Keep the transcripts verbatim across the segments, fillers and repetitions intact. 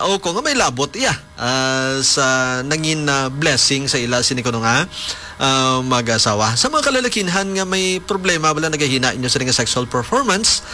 O ko nga may labot iya, ah, sa nangin, ah, blessing sa ila sini kuno nga, ah, mag-asawa. Sa mga kalalakinhan nga may problema bala nagahina inyo sini nga sexual performance,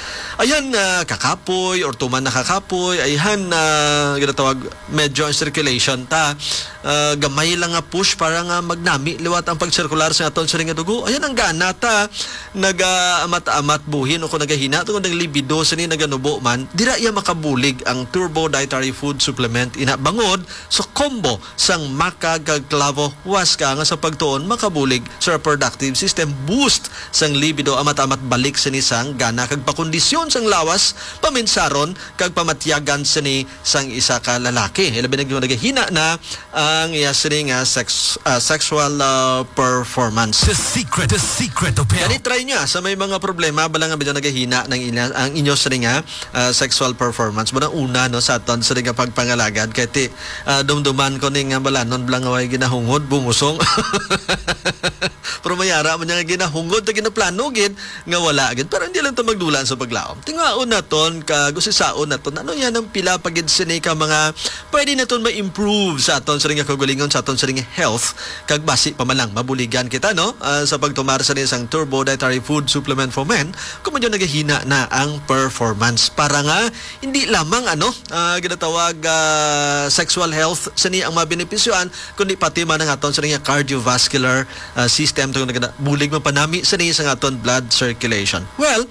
ayhan, ah, kakapoy or tuman na kakapoy, ayhan, ah, ginatawag medyo ang circulation ta, ah, gamay lang nga push para nga magnami liwat ang pagsirkular sa aton sini nga dugo. Ayhan ang gana ta nagaamat-amat buhin o kung nagahina tungod ang libido sini naganubo man, dira iya makabulig ang Turbo Dietary Food Supplement ina bangod sa combo sang maca kag clavo huasca nga sa pagtuon makabulig sa reproductive system, boost sang libido, amat-amat balik sini sang gana kag pakondisyon sang lawas, paminsaron kag pamatyagan sini sang isa ka lalaki. Ilabi na gyud nagahina na ang iya sini nga sex-, ah, sexual, ah, performance. The secret, the secret of health. Gani, try niya sa may mga problema bala nga medyo nagahina ng ina, ang inyo sini nga, ah, sexual performance. Muna una, no, sa aton sini nga pagpangalagad. Kay ti, ah, dumduman ko ni nga balanon bala nga way ginahungod, bungusong. Pero mayara man niya nga ginahungod, ta ginaplano gid nga wala gid. Pero hindi lang ta magdula sa paglaom. Tingaon naton, kag usisaon naton, ano yan ang pila pa gid sini ka mga pwede naton ma-improve sa aton sini nga kaugalingon, sa aton sini nga health, kag basi pa man lang mabuligan kita, no? Ah, sa pagtumar sa isang Turbo Dietary Food Supplement for Men, kung medyo nagahina na ang performance. Para nga, hindi lamang, ano, ah, ginatawag, ah, sexual health, sini ang mabenepisyoan, kundi pati man ang aton sini nga cardiovascular, ah, system, tungod na bulig mapanami sini sa aton blood circulation. Well,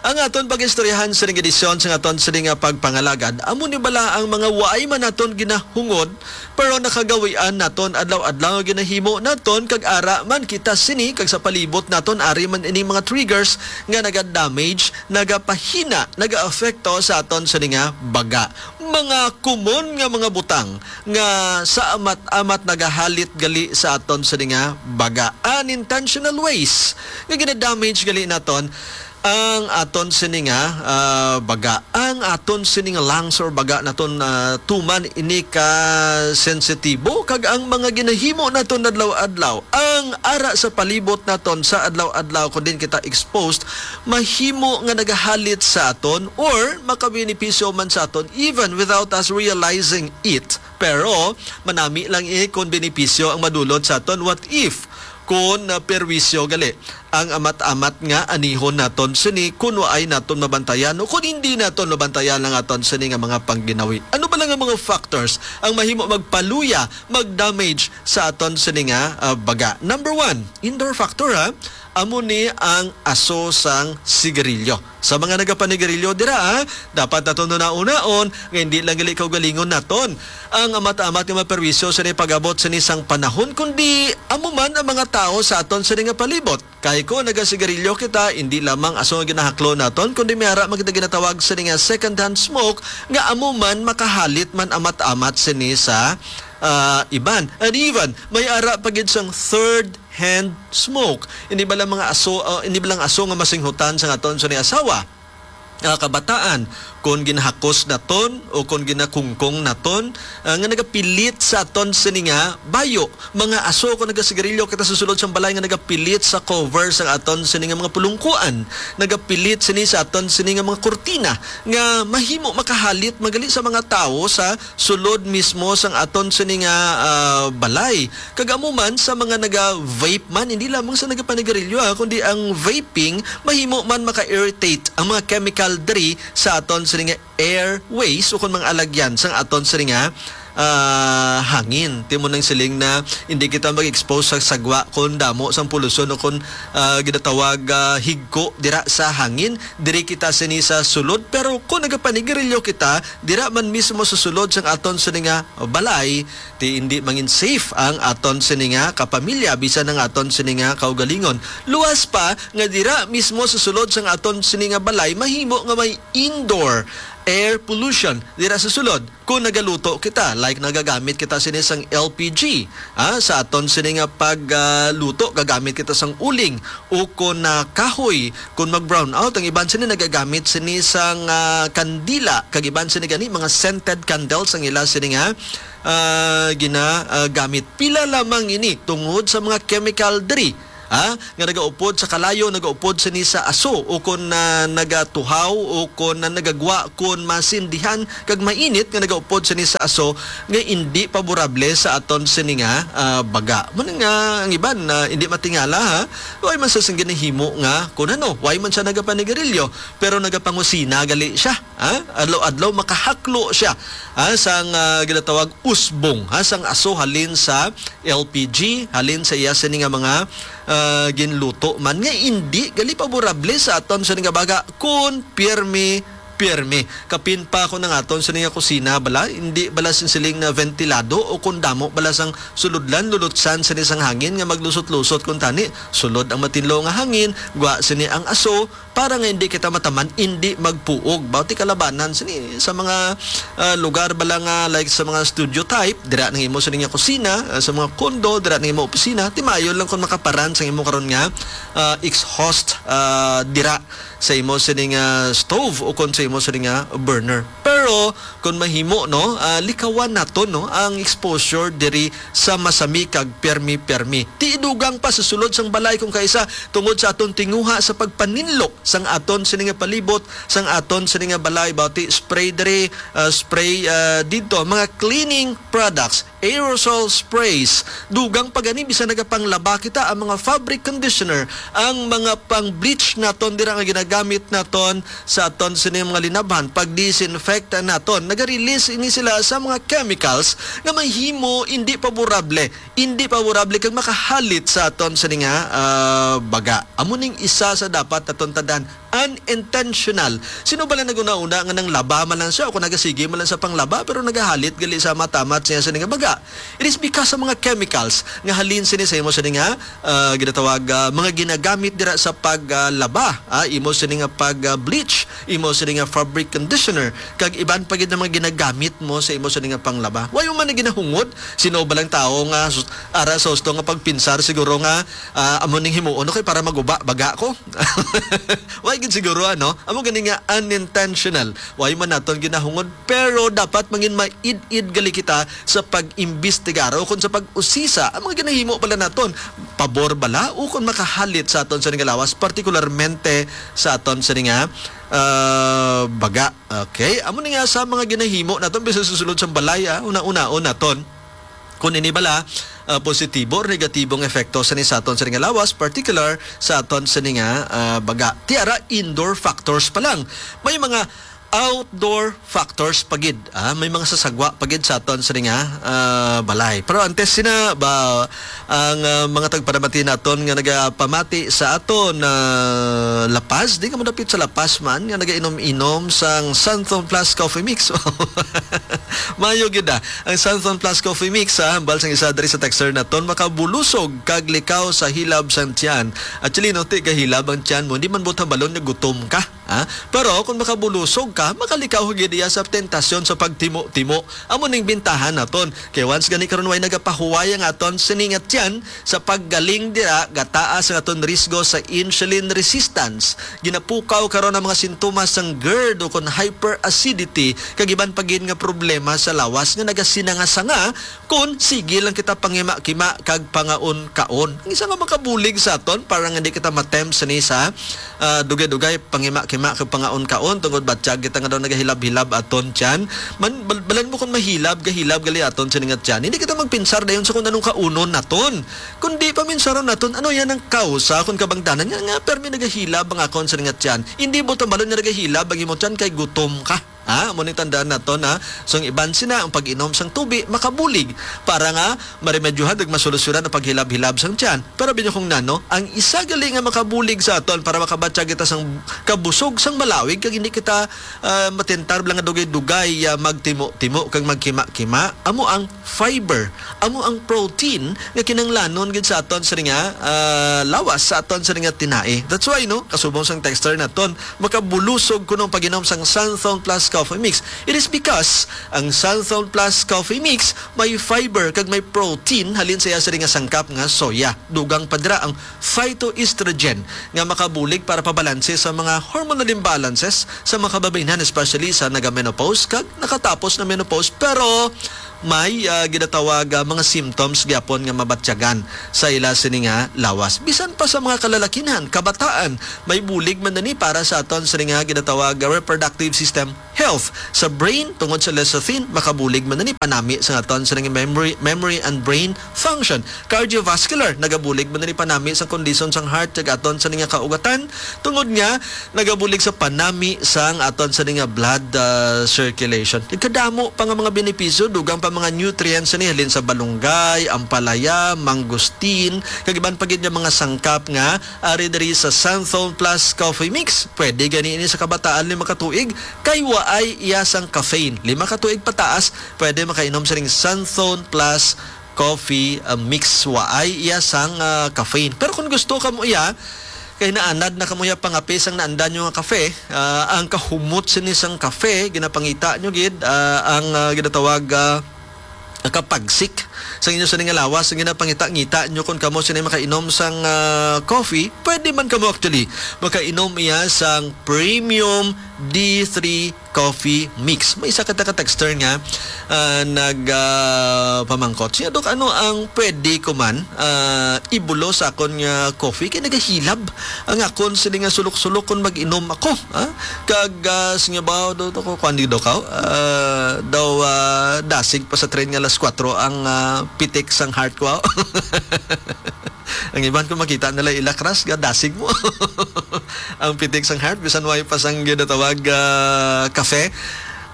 ang aton pag-istoryahan sa ning edisyon sa aton sini nga pagpangalagad, amo ni bala ang mga waay man naton ginahungod, pero nakagawian naton adlaw-adlaw nga ginahimo naton, kag ara man kita sini kag sa palibot naton, ari man ining mga triggers nga naga-damage, nagapahina, nagaapekto sa aton sini nga baga. Mga common nga mga butang nga sa amat-amat nagahalit gali sa aton sini nga baga. Unintentional ways nga gina-damage gali naton ang aton sini nga, ah, baga. Ang aton sini nga lungs or baga naton, ah, tuman ini ka sensitibo, kag ang mga ginahimo naton adlaw-adlaw, ang ara sa palibot naton sa adlaw-adlaw, kung din kita exposed, mahimo nga nagahalit sa aton or makabenepisyo man sa aton even without us realizing it. Pero manami lang, eh, kung benepisyo ang madulot sa aton. What if kung, ah, perwisyo gali ang amat-amat nga anihon naton sini kung waay naton mabantayan o kung hindi naton mabantayan ang aton sini nga mga pangginawi? Ano ba lang ang mga factors ang mahimo magpaluya, mag-damage sa aton sini nga, ah, baga? Number one, indoor factor, ha. Amo ni ang aso sang sigarilyo. Sa mga nagapanigarilyo dira, ha, dapat naton hunahunaon nga hindi lang gali kaugalingon naton ang amat-amat nga maperwisyo sini pag-abot sini sang panahon, kundi amo man ang mga tawo sa aton sini nga palibot. Kay kung nagasigarilyo kita, hindi lamang aso nga ginahaklo naton, kundi may ara man kita ginatawag sini nga second-hand smoke, nga amo man makahalit man amat-amat sini sa, ah, iban. And even, may ara pa gid sang third hand smoke. Hindi ba lang mga aso, ah, hindi ba lang aso nga masinghutan sa aton sini asawa? Ah, kabataan, kung ginahakos naton o kung ginakungkong naton, ah, nga nagapilit sa aton sini nga bayo, mga aso, kung nagasigarilyo kita sa sulod sang balay nga nagapilit sa cover sa aton sini nga mga pulungkuan, nagapilit sini sa aton sini nga mga kurtina, nga mahimo makahalit man gali sa mga tawo sa sulod mismo sang aton sini nga, ah, balay. Kag amo man sa mga naga-vape man, hindi lamang sa nagapanigarilyo, ha, kundi ang vaping mahimo man maka-irritate ang mga chemical diri sa aton sini nga airways o kon mga alagyan sang aton sini nga, ah, hangin. Ti mo nang siling na hindi kita mag-expose sa sagwa kon damo sang polusyon o kon, ah, ginatawag, ah, higko dira sa hangin. Diri kita sini sa sulod, pero kung nagapanigarilyo kita, dira man mismo sa sulod sang aton sini nga balay, ti indi mangin safe ang aton sini nga kapamilya, bisan ang aton sini nga kaugalingon. Luwas pa nga dira mismo sa sulod sang aton sini nga balay, mahimo nga may indoor air pollution dira sa sulod kung nagaluto kita, like nagagamit kita sini sang L P G, ah, sa aton sini nga pag, ah, luto, gagamit kita sang uling o kon, ah, kahoy, kung mag-brown out ang iban sini nagagamit sini sang, ah, kandila, kag iban sini gani mga scented candles ang ila sini nga, ah, gina, ah, gamit. Pila lamang ini tungod sa mga chemical diri ha, nga nagaupod sa kalayo, nagaupod sini sa aso, o kon, ah, nagatuhaw, o kon, ah, nagagwa kon masindihan kag mainit nga nagaupod sini sa aso, nga indi paborable sa aton sini nga, ah, baga. Mo na nga ang iban na indi matingala, ha, way man sa sing ginahimo nga kun ano, way man siya nagapanigarilyo, pero nagapangusina gali siya, ha? Adlaw-adlaw makahaklo siya, ha, sang, ah, ginatawag usbong, ha, sang aso halin sa L P G, halin sa iya sini nga mga, ah, ginluto man nga indi gali paborable sa aton sini nga baga kun pirmi, pirmi. Kapin pa ako nang aton sini nga kusina bala, hindi bala sinsiling na ventilado o kung damo bala sang suludlan, lulutsan sini sang hangin nga maglusot-lusot kun tani. Sulod ang matinlo nga hangin, gwa sini ang aso, para nga hindi kita mataman, hindi magpuog. Bawti kalabanan sini sa mga, ah, lugar bala nga, like, sa mga studio type, dira nang imo sini nga kusina, ah, sa mga condo, dira nang imo opisina, timayon lang kung makaparan sa imo karon nga, ah, exhaust, ah, dira sa imo sini nga stove o kon sa imo sini nga burner. Pero kung mahimo, no, ah, likawan naton, no, ang exposure diri sa masami kag permi-permi. Ti idugang pa sa sulod sang balay kung kaisa tungod sa aton tinguha sa pagpaninlo sang aton sini nga palibot, sang aton sini nga balay, bawti spray diri, ah, spray, ah, didto, mga cleaning products, aerosol sprays. Dugang pa gani, bisan nagapanglaba kita, ang mga fabric conditioner, ang mga pang-bleach naton dira nga ginagamit naton sa aton sini mga linabhan, pag-disinfect naton, naga-release ini sila sa mga chemicals nga mahimo hindi paborable, hindi paborable kag makahalit sa aton sini nga, ah, baga. Amo ning isa sa dapat naton tandaan, unintentional. Sino ba lang nag-una-una nga nang laba man lang siya o kung nagasige man lang sa panglaba pero nagahalit gali sa matamat siya sa nga baga? It is because sa mga chemicals nga halin sini sa imo sini nga, ah, ginatawag, ah, mga ginagamit dira sa pag, ah, laba, ah, imo sini nga pag, ah, bleach, imo sini nga fabric conditioner, kag iban pa gid na mga ginagamit mo sa imo sini nga panglaba. Way man na ginahungod, sino ba lang tawo nga sus-, ara sa husto nga pagpinsar siguro nga, ah, amo ning himuon ko kay para maguba baga ko. Way gid siguro, ano? Amo gani nga unintentional. Way man naton ginahungod, pero dapat mangin maid-id gali kita sa pag-imbestigar o kung sa pag-usisa ang mga ginahimo bala naton. Pabor bala o kung makahalit sa aton sa nga lawas, partikularmente sa aton sa nga, ah, baga. Okay? Amo ni nga sa mga ginahimo naton, bisan sa sulod sang balay, ah, una-unaon naton. Kung ini bala, ah, positibo or negatibong epekto sa ni sa aton sa nga lawas, particular sa aton sa nga, ah, baga. Ti ara, indoor factors pa lang. May mga outdoor factors pa gid, ah, may mga sasagwa pa gid sa aton sa nga, ah, balay. Pero antes sina ba ang, ah, mga tagpanamati naton nga nagapamati sa aton, ah, La Paz, di ka madapit sa La Paz man nga nagainom-inom sang Santhon Plus Coffee Mix. Mayo gid, ah. Ang Santhon Plus Coffee Mix, ah, hambal sang isa diri sa texter naton, makabulusog kag likaw sa hilab sang tiyan. Actually, no, ti kahilab ang tiyan mo, hindi man buot hambalon nga gutom ka. Ha? Pero kung makabulusog ka, makalikaw ka gid iya sa tentasyon sa pagtimo-timo. Amo ning bintahan naton. Kay once gani karon way nagapahuway ang aton sini nga tiyan sa paggaling dira, gataas ang aton risgo sa insulin resistance. Ginapukaw karon ang mga sintomas sang gerd o kon hyperacidity, kag iban pa gid nga problema sa lawas nga nagasinanga-sanga kon sige lang kita pangima-kima kag pangaon-kaon. Ang isa nga makabulig sa aton para nga di kita matempt sini sa, ah, dugay-dugay, pangima-kima kag pangaon-kaon tungod batyag kita nga daw nagahilab-hilab aton tiyan. Man, bal-, balan mo kung mahilab, gahilab gali aton sini nga tiyan. Hindi kita magpinsar dayon sa kung anong kaunon naton. Kundi paminsaron naton, ano yan ang kausa kung kabangdanan nga, nga permi nagahilab ang akon sini nga tiyan. Hindi mo tambalon nga nagahilab ang imo tiyan kay gutom ka. Ha? Amo ni tandaan naton, ha? So, ang iban sina, ang pag-inom sang tubi, makabulig para nga maremedyohan ug masolusyonan ang paghilab-hilab sang tiyan. Pero binyo kung nano, ang isa gali nga makabulig sa aton para makabatyag kita sang kabusog sang malawig kag hindi kita, ah, matentar lang nga dugay-dugay, ah, magtimo-timo kag magkima-kima, amo ang fiber, amo ang protein nga kinahanglanon gid sa aton sa nga, ah, lawas, sa aton sa nga tinai. That's why, no, kasubong sang texter naton, makabulusog kuno ang pag-inom sang Santhon Plus Coffee Mix. It is because ang Santhon Plus Coffee Mix may fiber kag may protein halin sa iya sa nga sangkap nga soya. Dugang pa dira ang phytoestrogen nga makabulig para pabalanse sa mga hormonal imbalances sa mga kababaynhan, especially sa naga-menopause kag nakatapos na menopause. Pero may, ah, ginatawag, ah, mga symptoms gyapon nga mabatyagan sa ila sini nga lawas. Bisan pa sa mga kalalakinhan, kabataan, may bulig man na ni para sa aton sini nga ginatawag, ah, reproductive system health. Sa brain, tungod sa lecithin, makabulig man na ni panami sa aton sini nga memory, memory and brain function. Cardiovascular, nagabulig man na ni panami sa kondisyon sang heart, kag aton sini nga kaugatan, tungod nga nagabulig sa panami sang aton sini nga blood, ah, circulation. Kadamo pa nga mga benepisyo, dugang pa mga nutrients ni halin sa balunggay, ampalaya, mangosteen, kag iban pa gid nga mga sangkap nga ari diri sa Santhone Plus Coffee Mix. Pwede gani ini sa kabataan lima ka tuig, kay waay iya sang caffeine. Lima ka tuig pataas, pwede makainom sining Santhone Plus Coffee, ah, Mix. Waay iya sang, ah, caffeine. Pero kung gusto ka mo iya, kay naanad na kamo iya pangape sang naandan nyo nga kafe, ah, ang kahumot sini sang kafe, ginapangita nyo gid, ah, ang, ah, ginatawag, ah, kapagsik sa inyo sini nga lawas, ang ginapangita-ngita nyo kung kamo sini makainom sang, ah, coffee. Pwede man kamo actually makainom iya sang premium D three coffee mix. May isa ka taga-texter nga, ah, nag, ah, pamangkot. Siya, "Dok, ano ang pwede ko man, ah, ibulo sa akon nga coffee? Kay nagahilab ang akon sini nga sulok-sulok kung mag-inom ako, ha? Kag, ah, siya ba, do, do, ko, kuwan di daw ka, ah, daw, ah, dasig pa sa train nga alas kuwatro ang, ah, pitik sang heart ko." Ang iban ko makita nila ilakras, ga dasig mo. Ang pitik sang heart, bisan way pa sang ginatawag, ah, kafe.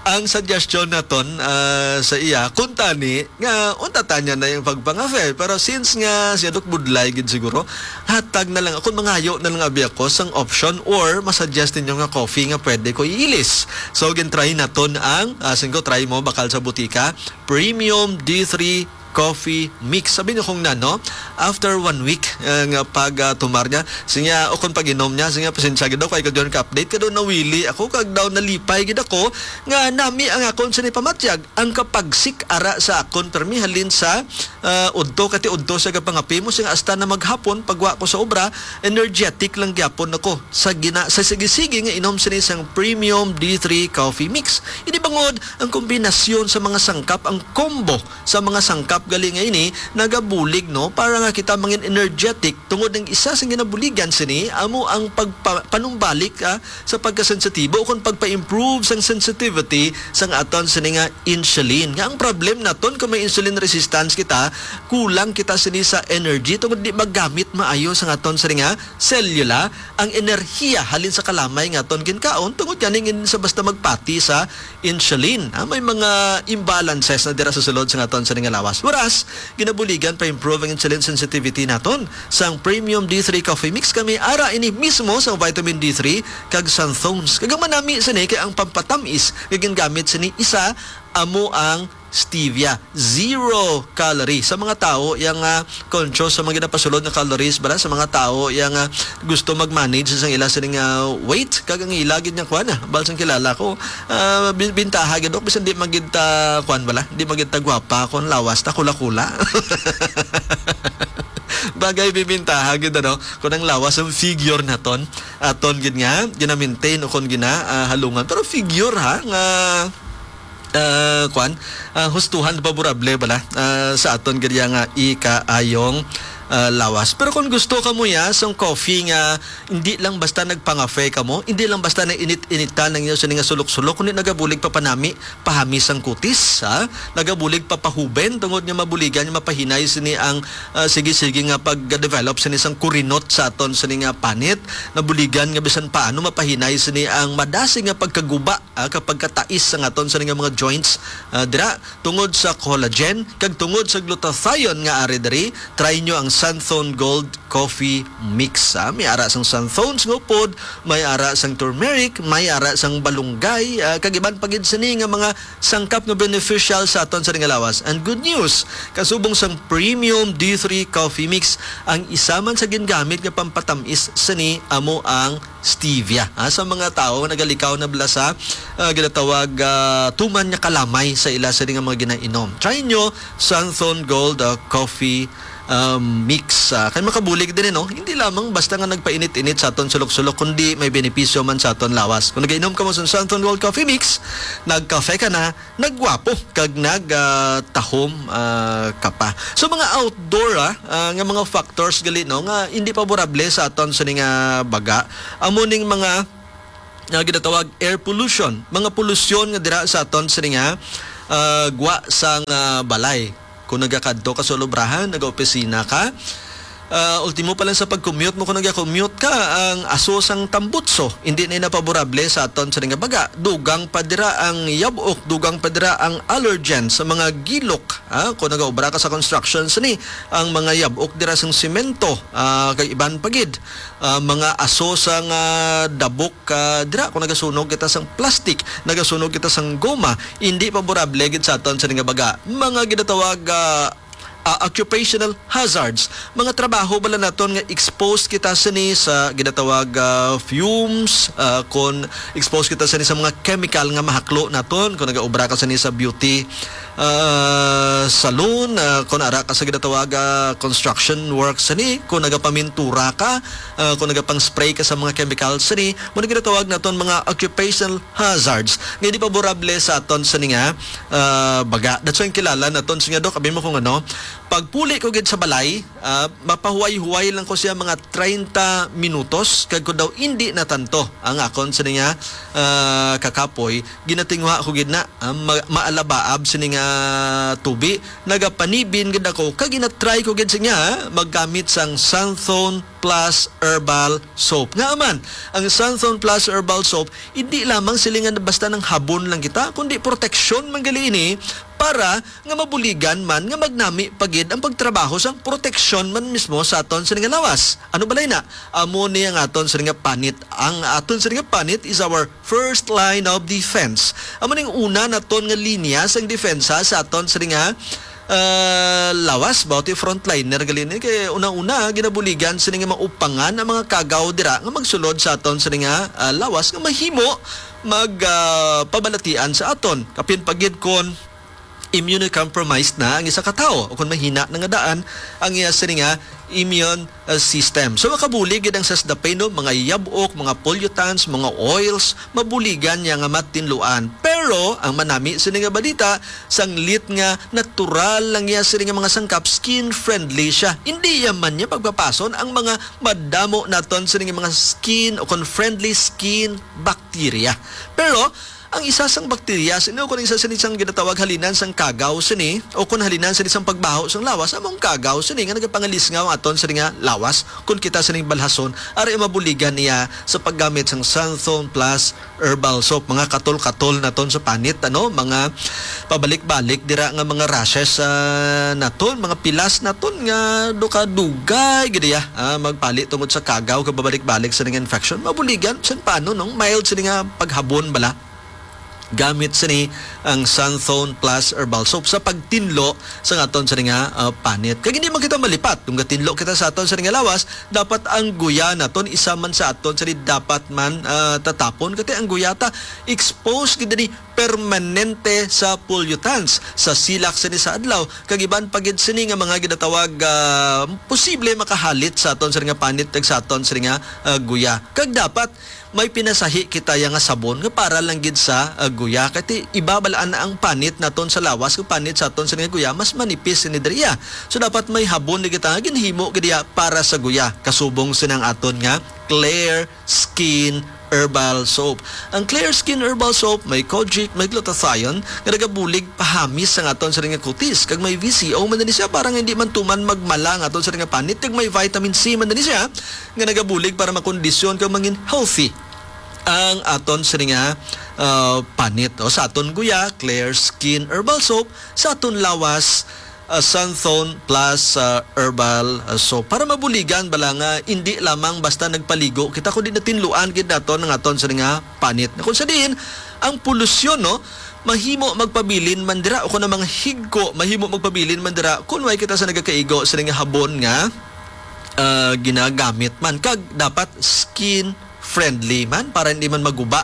Ang suggestion naton, ah, sa iya, kung tani, nga unta tanya na yung pagpangafe. Pero since nga siya dok budlay gid siguro, hatag na lang, ako mangayo na lang abi ako sang option or masuggest ninyo nga coffee nga pwede ko iilis. So, gintry naton ang, ah, singko try mo, bakal sa butika, Premium D three Coffee Mix. Sabi niyo kung nano, after one week, eh, nga pag, ah, tumar niya, siya, o kung pag-inom niya, siya, pasensya gid ako, ay ko doon ka-update, kado nawili ako, kag daw nalipay gid ako, nga nami ang akon sa nipamatyag, ang kapagsik ara sa akon, permi halin sa, ah, udto, kati udto sa gapangapi mo, siya, hasta na maghapon, pagwa ko sa obra, energetic lang gyapon ako sa gina-, sa sige-sige nga inom sini sang Premium D three Coffee Mix. Ini bangod ang kombinasyon sa mga sangkap, ang combo sa mga sangkap gali nga ini nagabulig, no, para nga kita mangin energetic, tungod ang isa sa ginabuligan sini amo ang pagpa-, panumbalik, ah, sa pagkasensitibo o kung pagpa-improve sang sensitivity sang aton sini nga insulin. Nga ang problem naton kung may insulin resistance kita, kulang kita sini sa energy tungod di magamit maayo sang aton sini nga selula ang enerhiya halin sa kalamay nga aton ginkaon, tungod gani ngin sa basta magpati sa insulin. Ah, may mga imbalances na dira sa sulod sa aton sini nga lawas. Whereas, ginabuligan pa improve ang insulin sensitivity naton. Sang Premium D three Coffee Mix kami ara ini mismo sa vitamin D three kag xanthones. Kag ang manami sini kay ang pampatamis nga gingamit sini isa amo ang stevia. Zero calorie. Sa mga tawo yang, ah, conscious sa mga ginapasulod nga calories, bala, sa mga tawo yang, ah, gusto mag-manage sa ila sining, ah, weight, kag ang ila gid nga kuan, ah, balsang kilala ko, ah, bi-, bintaha gid, ok, bisan di magid ta kuan, bala, di magid ta gwapa, kung lawas ta kula-kula. Bagay bibintaha gid, ano, kung ang lawas ang figure naton, aton gid nga gina-maintain o kung gina, ah, halungan. Pero figure, ha, nga, ah, kwan, ah, hustuhan, favorable bala, ah, sa aton gid nga ikaayong, ah, lawas. Pero kung gusto kamo ya sang coffee nga hindi lang basta nagpangafe kamo, hindi lang basta na init-initan ang inyo sini nga sulok-sulok, kundi nagabulig pa panami, pahamis ang kutis, ha? Nagabulig pa pahuben tungod nga mabuligan nga mapahinay sini ang, ah, sige-sige nga pag-develop sini sang kurinot sa aton sini nga panit. Nabuligan nga bisan paano mapahinay sini ang madasig nga pagkaguba, ah, kapag katais sa aton sini nga mga joints, ah, dira tungod sa collagen kag tungod sa glutathione nga ari diri. Try nyo ang Santhone Gold Coffee Mix, ah. May ara sang xanthones nga upod, may ara sang turmeric, may ara sang balunggay, ah, kag iban pa gid sini nga mga sangkap nga beneficial sa aton sini nga lawas. And good news, kasubong sang Premium D three Coffee Mix, ang isa man sa gingamit nga pampatamis sini amo ang stevia. Ah, sa mga tawo nagalikaw na bala sa, ah, ginatawag, ah, tuman nga kalamay sa ila sini nga mga ginainom. Try nyo Santhone Gold, ah, Coffee um, mix. Ah, kay makabulig din, eh, no? Hindi lamang basta nga nagpainit-init sa aton sulok-sulok, kundi may benepisyo man sa aton lawas. Kung nagainom ka mo sa Santon Gold Coffee Mix, nagkafe ka na, nagwapo, kag nag, ah, tahom, ah, ka pa. So, mga outdoor, ah, ah, nga mga factors gali, no, nga hindi paborable sa aton sini nga baga, amo ning mga, ah, ginatawag air pollution, mga polusyon nga dira sa aton sini nga, ah, gwa sang, ah, balay. Kung nagakadto ka sa ulubrahan, nagaopisina ka, ah, ultimo pa lang sa pag-commute mo, kung nagakommute ka, ang aso sang tambutso, hindi na napaborable sa aton sini nga baga. Dugang pa dira ang yabok, dugang pa dira ang allergen sa mga gilok, ah, kung nagaobra ka sa construction sini, ang mga yabok dira sang semento, ah, kag iban pa gid, ah, mga aso sang, ah, dabok, ah, dira kung nagasunog kita sang plastic, nagasunog kita sang goma, hindi paborable gid sa aton sini nga baga. Mga ginatawag, ah, ah, occupational hazards, mga trabaho bala naton nga exposed kita sini sa ginatawag, ah, fumes, ah, kon exposed kita sini sa mga chemical nga mahaklo naton, kon nagaobra ka sini sa beauty, ah, salon, ah, kon ara ka sa ginatawag, ah, construction work sini, kon nagapamintura ka, ah, kon nagapang-spray ka sa mga chemical sini, mo na ginatawag naton mga occupational hazards nga hindi paborable sa aton sini nga, ah, baga. That's why ang kilala naton sini nga, Dok, abi mo kung ano, pagpuli ko gid sa balay, ah, mapahuway-huway lang ko siya mga treinta minutos, kag kung daw hindi natanto ang akon sini nga, ah, kakapoy, ginatinguha ko gid na, ah, ma-, maalabaab sini nga tubi, nagapanibin gid ako, kag ginatry ko gid siya maggamit sang Santhon Plus Herbal Soap. Nga man, ang Santhon Plus Herbal Soap, hindi lamang sila nga basta nang habon lang kita, kundi proteksyon man gali ini para nga mabuligan man nga magnami pa gid ang pagtrabaho sang proteksyon man mismo sa aton sini nga lawas. Ano balay na? Amo ni ang aton sini nga panit. Ang aton sini nga panit is our first line of defense. Amo ning una naton nga linya sang depensa sa aton sini nga, ah, lawas, ba, ti frontliner gali ni. Kay una-una, ginabuligan sini nga maupangan ang mga kagaw dira nga magsulod sa aton sini nga, ah, lawas nga mahimo mag, ah, pabalatian sa aton. Kapin pa gid kon immunocompromised na ang isa ka tawo o kon mahina na nga daan ang iya sini nga immune, uh, system. So, makabulig gid ang sasdapin, no? Mga yabok, mga pollutants, mga oils, mabuligan niya nga matinluan. Pero, ang manami sini nga balita, sanglit nga natural lang niya sini nga mga sangkap, skin friendly siya. Hindi ya man niya pagpapason ang mga madamo naton sini nga mga skin o kon friendly skin bacteria. Pero, ang isa sang bakterya sini, o kon isa sini sang ginatawag halinan sang kagaw sini, o kon halinan sini sang pagbaho sang lawas, amo ang kagaw sini nga nagapangalisngaw aton sini nga lawas. Kon kita sini balhason, ari mabuligan niya sa paggamit sang Santhon Plus Herbal Soap. Mga katol-katol naton sa panit, ano, mga pabalik-balik dira nga mga rashes, ah, naton, mga pilas naton nga dukadugay gid ya, ah, magpali tungod sa kagaw kag babalik-balik sa nga infection. Mabuligan, san paano, no? Mild sini nga paghabon bala. Gamit sini ang Santhon Plus Herbal Soap sa pagtinlo sa aton sini nga, ah, panit. Kag hindi man kita malipat. Kung gatinlo kita sa aton sini nga lawas, dapat ang guya naton isa man sa aton sini dapat man, ah, tatapon. Kay ang guya ta exposed gid ni permanente sa pollutants, sa silak sini sa adlaw, kag iban pa gid sini nga mga ginatawag, ah, posible makahalit sa aton sini nga panit kag sa aton sini nga, ah, guya. Kag dapat may pinasahi kita ya nga sabon nga para lang gid sa, ah, guya. Kay ti-, iba bala na ang panit naton sa lawas, kag panit sa aton sa nga guya, mas manipis ni diriya. So, dapat may habon ni kita nga ginhimo gid ya para sa guya. Kasubong sini ang aton nga Clear Skin Herbal Soap. Ang Clear Skin Herbal Soap may kojic, may glutathione nga nagabulig pahamis sa aton sa nga kutis, kag may V C O man ni siya para nga hindi man tuman magmala ang aton sa nga panit, kag may vitamin C man ni siya nga nagabulig para makondisyon kag mangin healthy ang aton sini nga, ah, panit. O, sa aton guya, Clear Skin Herbal Soap, sa aton lawas, ah, Santhon Plus, ah, Herbal, ah, Soap. Para mabuligan bala nga hindi lamang basta nagpaligo kita, kundi natinluan gid naton ang aton sini nga panit. Na kung sa diin, ang polusyon, no, mahimo magpabilin man dira, o kung ang mga higko, mahimo magpabilin man dira kung way kita sa nagakaigo sini nga habon nga, ah, ginagamit man. Kag dapat skin friendly man para hindi man maguba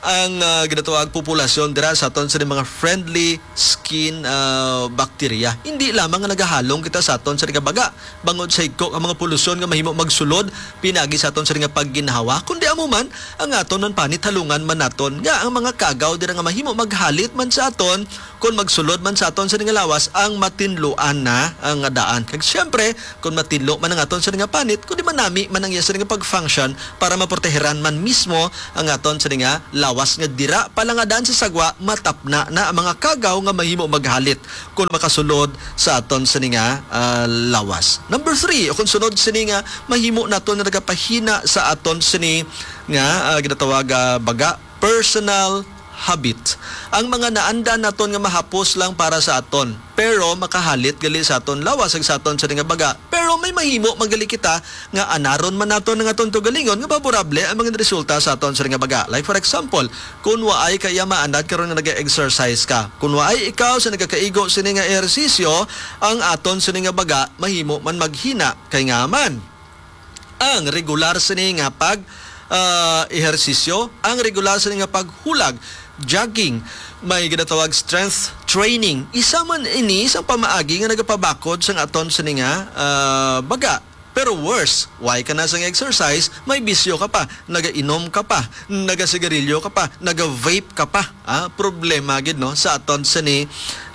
ang, ah, ginatawag populasyon dira sa aton sa mga friendly skin, ah, bacteria. Hindi lamang nga nagahalong kita sa aton sa nga baga bangod sa higko ang mga polusyon nga mahimo magsulod pinagi sa aton sa nga pagginhawa, kundi amo man ang aton man panit halungan man naton nga ang mga kagaw dira nga mahimo maghalit man sa aton kon magsulod man sa aton sa nga lawas ang matinluan na, ah, nga daan. Kag siyempre, kon matinlo man ang aton sa nga panit, kundi manami man ang iya sa nga pag-function para maproteheran man mismo ang aton sa nga lawas nga dira pa lang nga daan sa sagwa, matapna na ang mga kagaw nga mahimo maghalit kon makasulod sa aton sa nga, ah, lawas. Number three, o kung sunod sini nga mahimo naton nga nagapahina sa aton sini nga, ah, ginatawag, ah, baga, personal habit. Ang mga naanda naton nga mahapos lang para sa aton, pero makahalit gali sa aton lawas ag sa aton sa nga baga. Pero may mahimo man gali kita nga anaron man naton ang aton tugalingon nga favorable ang mga resulta sa aton sa nga baga. Like for example, kung waay ka iya maanad karon nga nag-exercise ka, kung waay ikaw sa nagakaigo sini nga ehersisyo, ang aton sini nga baga mahimo man maghina kay nga man ang regular sini nga pag, ah, ehersisyo, ang regular sini nga paghulag, jogging, may ginatawag strength training. Isa man ini sa pamaagi nga nagapabakod sang aton sini nga, ah, baga. Pero worse, why ka na sang exercise, may bisyo ka pa, nagainom ka pa, nagasigarilyo ka pa, naga-vape ka pa. Ah, problema gid, no, sa aton sini,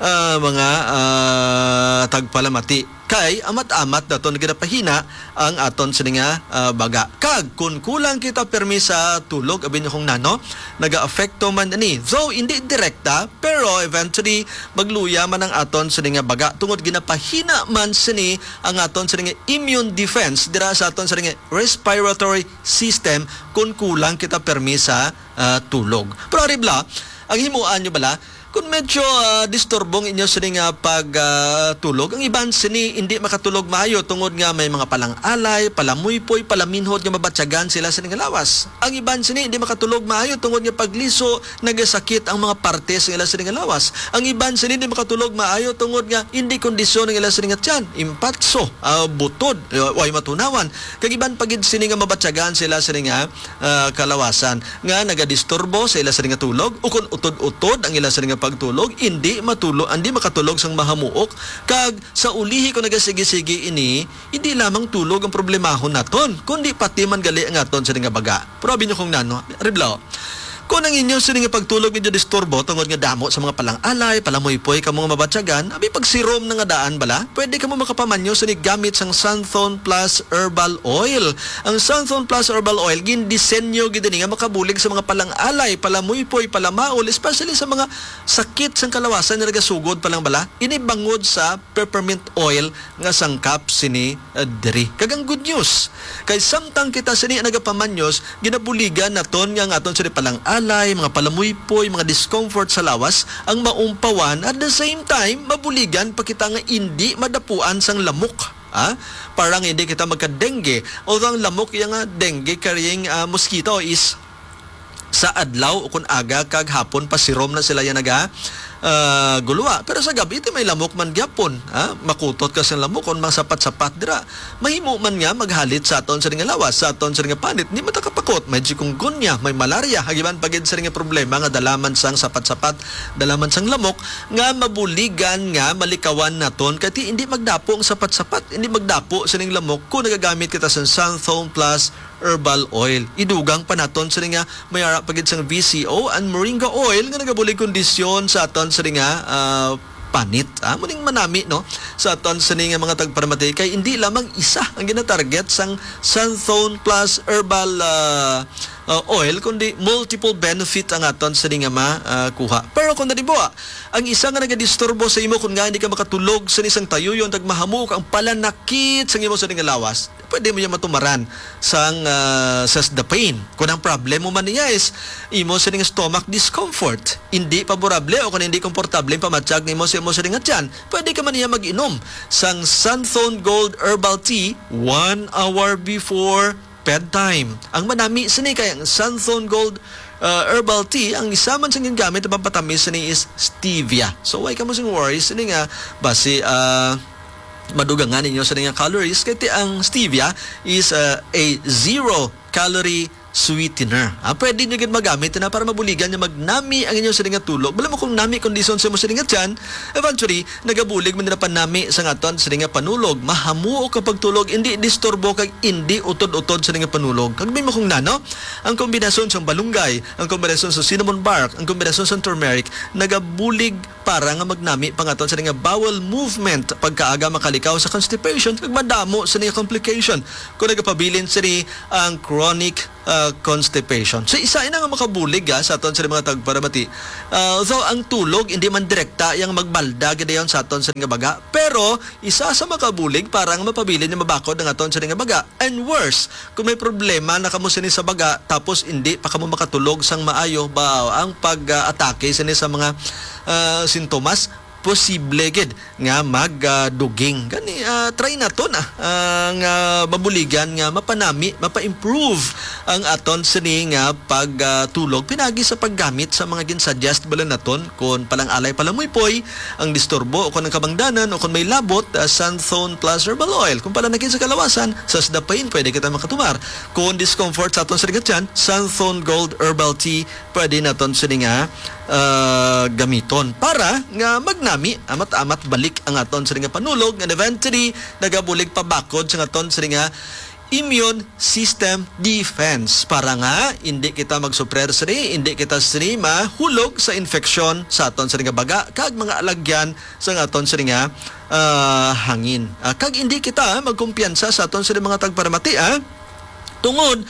ah, mga, ah, tagpalamati. Kay amat-amat naton ginapahina ang aton sini nga, ah, baga. Kag kun kulang kita permi sa tulog, abi niyo kung nano, nagaapekto man ini. Though hindi direkta, pero eventually magluya man ang aton sini nga baga tungod ginapahina man sini ang aton sini nga immune defense dira sa aton sini nga respiratory system kun kulang kita permi sa, ah, tulog. Pero ari bala, ang himuan nyo bala, kung medyo, ah, disturbo ang inyo sini nga pag, ah, tulog, ang iban sini hindi makatulog maayo tungod nga may mga palang-alay, palamuypoy, palaminhod nga mabatyagan sila sini nga lawas. Ang iban sini hindi makatulog maayo tungod nga pagliso nagasakit ang mga parte sa ila sini nga lawas. Ang iban sini hindi makatulog maayo tungod nga hindi kondisyon ang ila sini nga tiyan, impatso, ah, butod, ah, way matunawan. Kag iban pa gid sini nga mabatyagan sila sini nga, ah, kalawasan nga nagadisturbo sa ila sini nga tulog, ukon utod-utod ang ila sini nga pagtulog, indi matulog, indi makatulog sang mahamuok, kag sa ulihi kung nagasigi-sigi ini, hindi lamang tulog ang problemahon naton, kundi pati man gali ang aton sini nga baga. Pero abi niyo kung nano, Riblaw, kung ang inyo sini nga pagtulog medyo disturbo tungod nga damo sa mga palang-alay, palamuypoy kamo nga mabatyagan, abi pagsirom na nga daan bala, pwede kamo makapamanyo sini gamit sang Santhon Plus Herbal Oil. Ang Santhon Plus Herbal Oil, gindisenyo gid ini nga makabulig sa mga palang-alay, palamuypoy, palamaol, especially sa mga sakit sang kalawasan nga nagasugod pa lang bala. Ini bangod sa peppermint oil nga sangkap sini, ah, diri. Kag ang good news, kay samtang kita sini nagapamanyos, ginabuligan naton nga ang aton sini palang-alay, mga palamuypoy, mga discomfort sa lawas, ang maumpawan, at the same time, mabuligan pa kita nga indi madapuan sang lamok. Ha? Para nga hindi kita magka-dengue. Although ang lamok iya nga dengue carrying, ah, mosquito is sa adlaw o kun aga kag hapon pasirom na sila yan naga, ah, guluwa. Pero sa gabi, ti may lamok man gyapon, ha? Makutot ka sa lamok kung mga sapat-sapat dira. Mahimo man nga maghalit sa aton sa nga lawas, sa aton sa nga panit. Hindi matakapakot, may chikungunya, may malaria, hagiban pa gid sa nga problema nga dala man sang sapat-sapat, dala man sang lamok, nga mabuligan nga malikawan naton. Kay ti hindi magdapo ang sapat-sapat, hindi magdapo sining lamok kung nagagamit kita sa Santhon Plus Herbal Oil. Idugang pa naton sini nga may ara pa gid sang V C O and moringa oil nga nagabulig kondisyon sa aton sini nga, ah, panit. Ah, muning manami, no, sa aton sini nga mga tagparamati kay hindi lamang isa ang ginatarget sang Santhon Plus Herbal, ah, ah, Oil, kundi multiple benefit ang aton sini nga ma, ah, kuha. Pero kung nalibo, ah, ang isa nga nagadisturbo sa imo kung nga hindi ka makatulog sa isang tayuyon, tag mahamok ang palanakit sa imo sini nga lawas, pwede mo yung matumaran sang, ah, Sesdapine. Kung ang problema man niya is imo sining stomach discomfort, hindi paborable o kung hindi komportable ang pamatyag nimo sa imo sining tiyan, pwede ka man niya mag-inom sang Santhon Gold Herbal Tea one hour before bedtime. Ang manami sini kay ang Santhon Gold, ah, Herbal Tea, ang isa man sa gingamit na pampatamis sini is stevia. So, why ka mo sing worry sini nga basi, ah, madugangan ninyo sa nga calories, kay ti ang stevia is, uh, a zero calorie sweetener. Ah, pwede nyo gid magamit na para mabuligan nga magnami ang inyong sini nga tulog. Bala mo kung nami kondisyon sa mo sini nga tiyan, eventually, nagabulig man na panami sa aton sini nga panulog. Mahamuok ang pagtulog, hindi disturbo kag hindi utod-utod sini nga panulog. Kag may mo kung nano, ang kombinasyon sang balunggay, ang kombinasyon sa cinnamon bark, ang kombinasyon sa turmeric, nagabulig para nga magnami pa nga aton sini nga bowel movement, pagkaaga makalikaw sa constipation kag madamo sini nga complication kung nagapabilin sini ang chronic, ah, constipation. So, isa ina nga makabulig, ah, sa aton sini mga tagparamati. Ah, although ang tulog hindi man direkta yang magbalda gidayon sa aton sini nga baga, pero isa sa makabulig para nga mapabilin nga mabakod ang aton sini nga baga. And worse, kung may problema na kamo sini sa baga, tapos hindi pa kamo makatulog sang maayo, ba ang pag-atake sini sa mga, ah, sintomas, posible gid nga magduging. Gani, ah, try naton, ah, ah, nga mabuligan nga mapanami, mapa-improve ang aton sini nga pagtulog pinagi sa paggamit sa mga ginsuggest bala naton, kon palang-alay, palamuypoy, ang disturbo o kon ang kabangdanan o kon may labot, ah, Santhone Plus Herbal Oil. Kung pala nakit sa kalawasan, sa Sda Pain, pwede kita makatumar. Kung discomfort sa aton sa ligatyan, Santhone Gold Herbal Tea, pwede naton sini nga, ah, gamiton para nga magnami, amat-amat balik ang aton sini nga panulog, and eventually nagabulig pabakod sa aton sini nga immune system defense, para nga hindi kita magsuprer sini, hindi kita sini mahulog sa infeksyon sa aton sini nga baga kag mga alagyan sa aton sini nga, ah, hangin. Ah, kag hindi kita magkumpiyansa sa aton sini mga tagparamati, ah. Tungod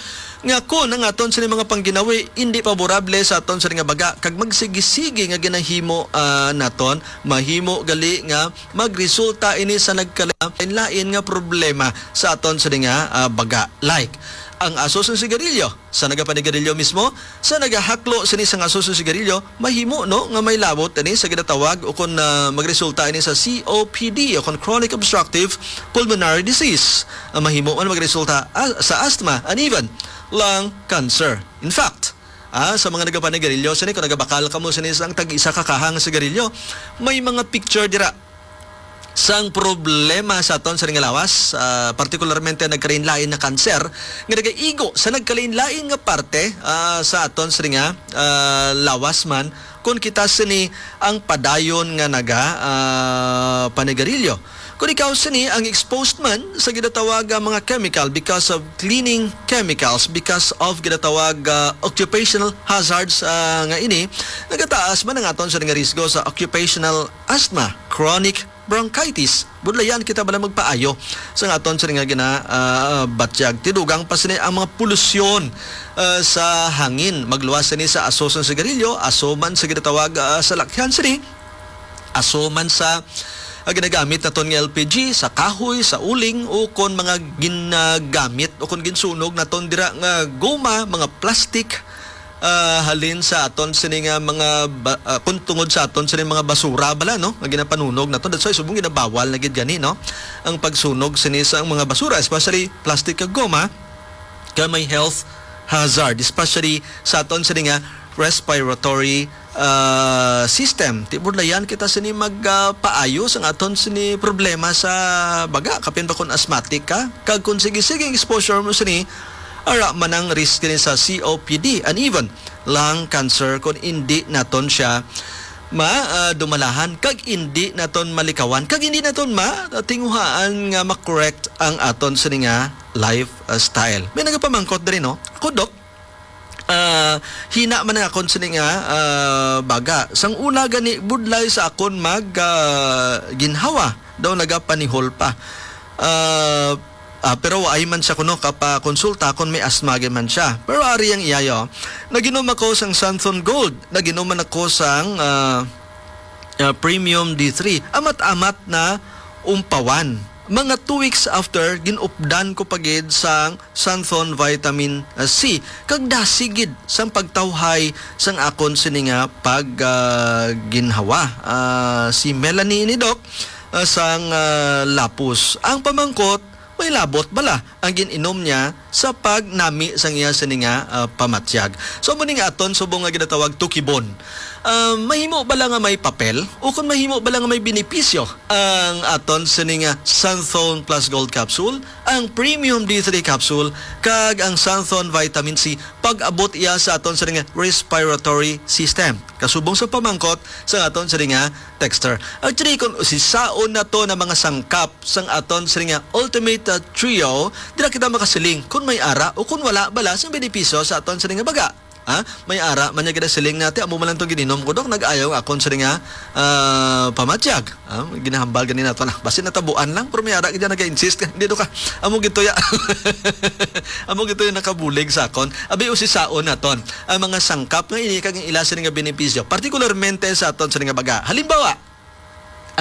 nga kon ang aton sini mga pangginawi hindi paborable sa aton sini nga baga kag magsigi-sigi nga ginahimo, ah, naton, mahimo gali nga magresulta ini sa nagkalain-lain nga problema sa aton sini nga, ah, baga. Like, ang aso sang sigarilyo, sa nagapanigarilyo mismo, sa nagahaklo sini sang aso sang sigarilyo, mahimo, no, nga may labot ini sa ginatawag o kon, ah, magresulta ini sa C O P D o kon chronic obstructive pulmonary disease. Ang mahimo man magresulta, ah, sa asthma and even lung cancer. In fact, ah, sa mga nagapanigarilyo sini, kung nagabakal kamo sini sang tag-isa ka kahang sigarilyo, may mga picture dira sang problema sa aton sini nga lawas, ah, partikularmente nagkalain-lain na kanser nga nagaigo sa nagkalain-lain nga parte, ah, sa aton sini nga, ah, lawas man, kun kita sini ang padayon nga naga, ah, panigarilyo. Kun ikaw sini ang exposed man sa ginatawag nga mga chemical because of cleaning chemicals, because of ginatawag, ah, occupational hazards, ah, nga ini, nagataas man ang aton sini nga risgo sa occupational asthma, chronic bronchitis. Budlayan kita bala magpaayo sa aton sini nga gina, ah, batyag. Tidugang pa sini ang mga polusyon, ah, sa hangin. Magluwas sini sa aso sang sigarilyo, aso man sa ginatawag, ah, sa lakyan sini, aso man sa, ah, ginagamit naton nga L P G, sa kahoy, sa uling, o kon mga ginagamit o kon ginsunog naton dira nga goma, mga plastic, ah, halin sa aton sini nga mga ba-, ah, kun tungod sa aton sini mga basura bala, no, nga ginapanunog naton. That's why subong ginabawal na gid gani, no, ang pagsunog sini sa mga basura, especially plastic kag goma, kay may health hazard, especially sa aton sini nga respiratory, ah, system. Ti budlayan kita sini mag, ah, paayo sang aton sini problema sa baga, kapin pa kon asthmatic ka, kag kon sige-sige ang exposure mo sini, ara man ang risk ni sa C O P D and even lung cancer kon indi naton siya ma, ah, dumalahan kag indi naton malikawan kag indi naton ma tinguhaan nga ma-correct ang aton sini nga lifestyle. May nagapamangkot diri, no? Ako, Doc, ah, hina man ang akon sini nga, ah, baga. Sang una gani, budlay sa akon mag, ah, ginhawa. Daw nagapanihol pa. Ah, ah, pero waay man siya kuno kapakonsulta kon may asthma gid man siya. Pero ari ang iya, yo. Nag-inom ako sang Santhon Gold. Nag-inom man ako sang, ah, ah, Premium D three. Amat-amat na umpawan. Mga two weeks after, ginupdan ko pa gid sang Santhon Vitamin, ah, C. Kag dasi gid sang pagtawhay sang akon sini nga pag, ah, ginhawa. Ah, si Melanie ini, Doc, ah, sang, ah, Lapus. Ang pamangkot, may labot bala ang gin-inom niya sa pagnami sang iya sini nga, ah, pamatyag. So, amo ning aton subong nga ginatawag tukibon. Ah, mahimo bala nga may papel? O kung mahimo bala nga may benepisyo ang aton sini nga Xanthone Plus Gold Capsule, ang Premium D three Capsule, kag ang Xanthone Vitamin C, pag-abot iya sa aton sini nga respiratory system? Kasubong sa pamangkot sa aton sini nga texter. Actually, kung usisaon nato na mga sangkap sang aton sini nga Ultimate, ah, Trio, dira kita makasiling kung may ara o kung wala bala sang benepisyo sa aton sini nga baga. Ha? May ara man niya ginasiling nati, amo man lang to gininom ko, Dok, nag-ayaw ang akon sini nga, ah, pamatyag. Ah, ginahambal gani nato na. Basi natabuan lang, pero may ara gid naga-insist ka. Hindi, Dok, ah. Amo gid to ya. Amo gid to yung nakabulig sa akon. Abi, usisaon naton ang mga sangkap nga ini kag ang ila sini nga benepisyo, partikularmente sa aton sini nga baga. Halimbawa,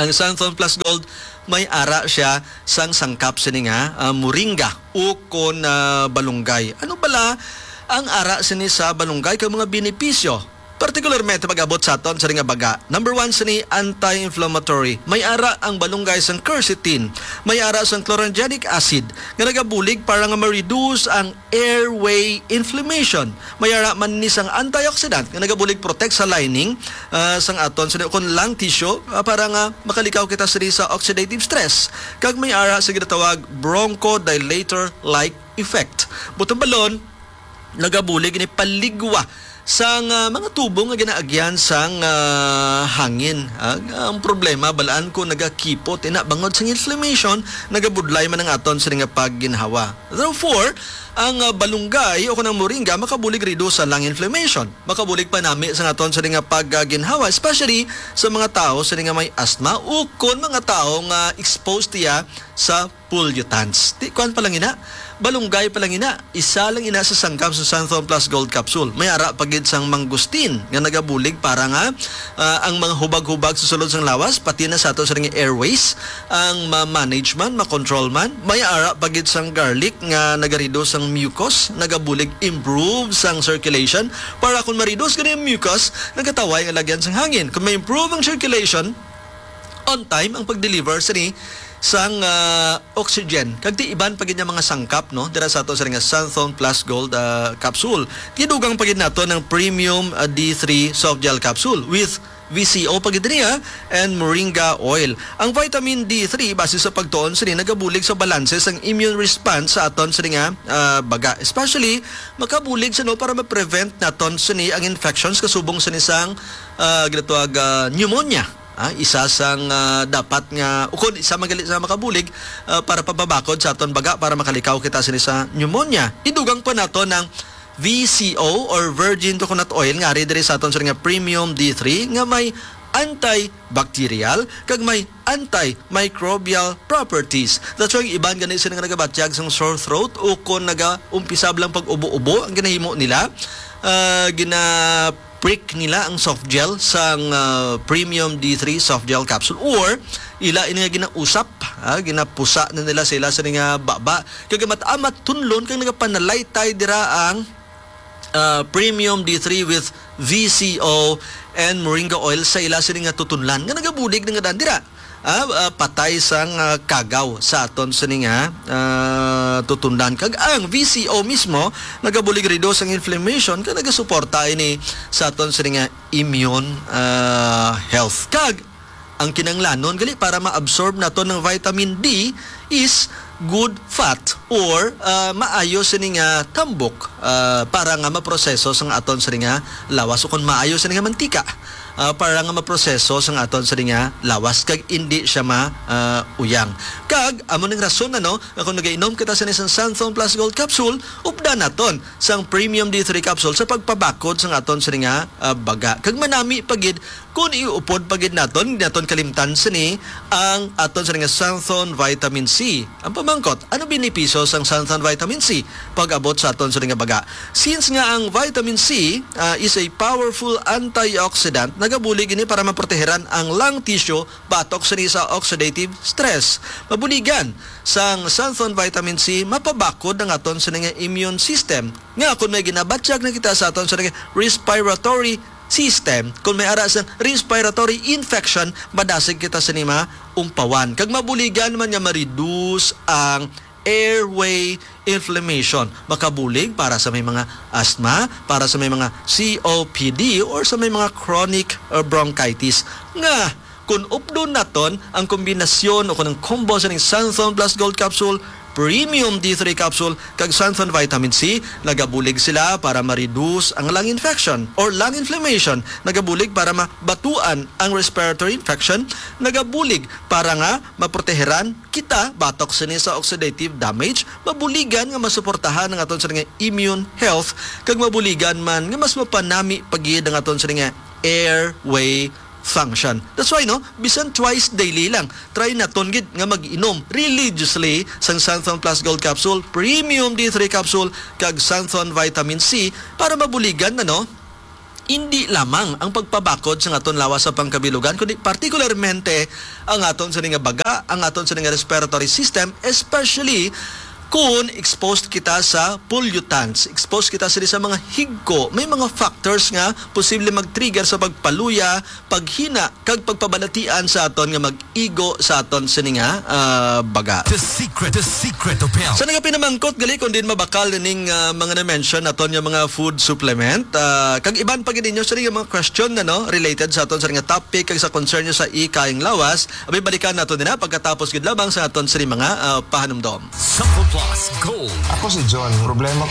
ang Xanthone Plus Gold may ara siya sang sangkap sini nga, ah, moringa o kon, ah, balunggay. Ano bala ang ara sini sa balunggay kag mga benepisyo? Partikularmente pag-abot sa aton sini nga baga. Number one sini, anti-inflammatory. May ara ang balunggay sang quercetin. May ara sang chlorogenic acid nga nagabulig para nga ma-reduce ang airway inflammation. May ara man ni sang antioxidant nga nagabulig protect sa lining, ah, sang aton sini kon lung tissue, ah, para nga makalikaw kita sini sa oxidative stress. Kag may ara sa ginatawag bronchodilator-like effect. Butang balon, nagabulig ni paligwa sang, ah, mga tubo nga ginaagyan sang, ah, hangin. Ah, ang problema, balaan ko nagakipot, ina bangod sang inflammation, nagabudlay man ang aton sini nga pagginhawa. Therefore, ang, ah, balunggay o kanang moringa makabulig reduce sa lung inflammation. Makabulig panami sa aton sini nga pagginhawa, especially sa mga tawo sini nga may asthma o kon mga tawo nga exposed iya sa pollutants. Ti, kuan pa lang ina, balunggay pa lang ina, isa lang ina sa sangkap sa Xanthone Plus Gold Capsule. May ara pa gid sang mangosteen nga nagabulig para nga, ah, ang mga hubag-hubag sa sulod sang lawas, pati na sa ato sa nga airways, ang ma-manage man, ma-control man. May ara pa gid sang garlic nga nagarido sang mucus, nagabulig improve sang circulation. Para kung ma-reduce gani ang mucus, nagataway ang lagyan sang hangin. Kung ma-improve ang circulation, on time ang pag-deliver sini sang, ah, oxygen. Kag ti iban pa gid nga mga sangkap, no, dira sa ato sa nga Xanthone Plus Gold, ah, capsule. Tidugang pa gid nato ng Premium, ah, D three soft gel capsule with V C O pa gid niya and moringa oil. Ang vitamin D three, base sa pagtuon sini, nagabulig sa balanse sang immune response sa aton sini nga, ah, baga. Especially, makabulig siya, no, para ma-prevent naton sini ang infections kasubong sini sang, ah, ginatawag, ah, pneumonia. Ah, isa sang, ah, dapat nga, ukon isa man gali sa makabulig, ah, para pababakod sa aton baga para makalikaw kita sini sa pneumonia. Idugang pa nato ng V C O or virgin coconut oil nga ari diri sa aton sini nga premium D three nga may antibacterial kag may antimicrobial properties. That's why iban gani sila nga nagabatyag sang sore throat o kon nagaumpisab lang pag-ubo-ubo ang ginahimo nila, ah, gina-prick nila ang soft gel sang, ah, premium D three soft gel capsule or ila ini nga ginausap, ah, ginapusa na nila sa ila sa nga baba. Kag amat-amat tunlon kag nagapanalaytay dira ang, ah, premium D three with V C O and moringa oil sa ila sini nga tutunlan nga nagabulig na nga daan dira. Ah, ah, patay sang, ah, kagaw sa aton sini nga, ah, tutunlan. Kag ang V C O mismo nagabulig reduce ang inflammation kag nagasuporta ini sa aton sini nga immune, ah, health. Kag ang kinanglanon gali para ma-absorb nato ng vitamin D is good fat or, ah, maayo sini nga tambok, ah, para nga maproseso sang aton sini nga lawas o kung maayo sini nga mantika, ah, para nga maproseso sang aton sini nga lawas kag indi siya ma, ah, uyang. Kag amo ning rason, ano, nga kung nagainom kita sini sang Santhon Plus Gold Capsule, updan naton sang Premium D three Capsule sa pagpabakod sang aton sini nga, ah, baga. Kag manami pa gid kung iupod pa gid naton, di naton kalimtan sini ang aton sini nga Santhon Vitamin C. Ang pamangkot, ano benepisyo sang Santhon Vitamin C pag-abot sa aton sini nga baga? Since nga ang vitamin C, ah, is a powerful antioxidant, nagabulig ini para maproteheran ang lung tissue batok sini sa oxidative stress. Mabuligan sang Santhon Vitamin C mapabakod ang aton sini nga immune system. Nga kung may ginabatyag na kita sa aton sini nga respiratory system, kung may ara sang respiratory infection, madasig kita sini maumpawan. Kag mabuligan man nga ma-reduce ang airway inflammation. Makabulig para sa may mga asthma, para sa may mga C O P D, or sa may mga chronic uh, bronchitis. Nga, kung updon naton ang kombinasyon o kung ang combo sa ning Xanthone Plus Gold Capsule, Premium D three Capsule, kag Xanthone Vitamin C, nagabulig sila para ma-reduce ang lung infection or lung inflammation, nagabulig para mabatuan ang respiratory infection, nagabulig para nga maproteheran kita batok sini sa oxidative damage, mabuligan nga masuportahan ang aton sini nga immune health, kag mabuligan man nga mas mapanami pa gid ang aton sini nga airway function. That's why, no, bisan twice daily lang, try naton gid nga mag-inom religiously sang Xanthone Plus Gold Capsule, Premium D three Capsule, kag Xanthone Vitamin C para mabuligan na, no, hindi lamang ang pagpabakod sa aton lawas sa pangkabilugan, kundi partikularmente ang aton sini nga baga, ang aton sini nga respiratory system, especially kung exposed kita sa pollutants, exposed kita sini sa mga higko, may mga factors nga posible mag-trigger sa pagpaluya, paghina, kag pagpabalatian sa aton nga mag-igo sa aton sini nga ah, baga. The secret, the secret of health. Sa nagapinamangkot gali kung din mabakal ning ah, mga na-mention naton nga mga food supplement, ah, kag iban pa gid ninyo sini nga mga question na, no, related sa aton sini nga topic kag sa concern nyo sa ikayang lawas, abi balikan naton din na pagkatapos gid lamang sa aton sini mga ah, pahanumdom. Sample Plus Gold. Ako si John. Problema